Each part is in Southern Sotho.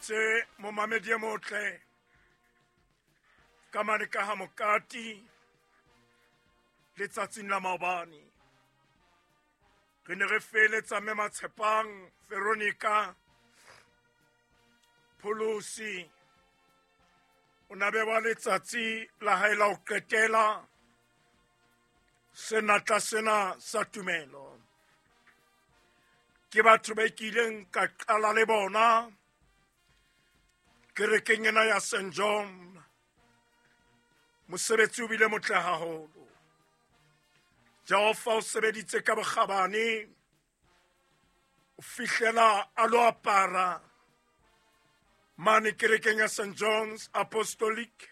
Itse momamedi e motle ka mane ka ha mokati letsatsing la maobane re ne re feeletsa mme Matshepang Veronica Pholosi o na bewa letsatsi la hae la ho qetela senatla sena sa tumelo. Ke batho ba kileng ka qala le bona kerekeng ena ya St John. Mosebetsi o bile motle haholo. Jehova o sebeditse ka bokgabane o fihlela a lo apara mane kerekeng ya St John's Apostolic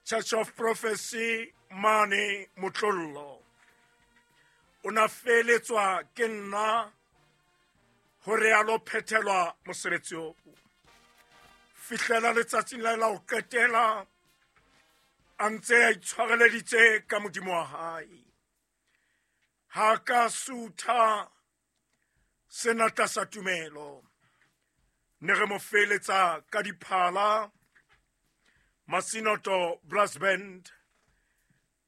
Church of Prophecy mane Motlollo. O na feletswa ke nna hore a lo phethelwa mosebetsi oo fihlela letsatsing la la ho qetela a ntse a itshwareleditse ka Modimo wa hae. Ha ka sutha senatla sa tumelo ne re mo feletsa ka diphala. Masinoto Brass Band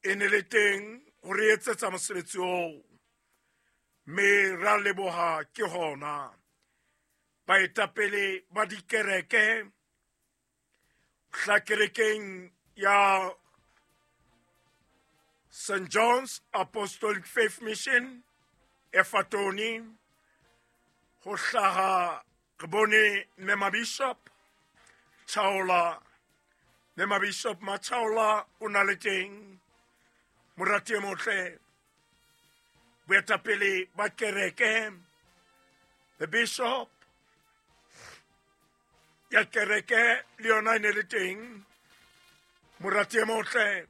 e ne le teng ho re etsetsa mosebetsi oo, mme ra leboha ke hona baetapele ba dikereke hla kerekeng ya St John's Apostolic Faith Mission Efatoni ho hlaha re bone Mema Bishop Chaola. Mema Bishop Machaola o na le teng morati e motle boetapele ba kereke, the bishop ya kereke le yona e ne le teng morati e motle.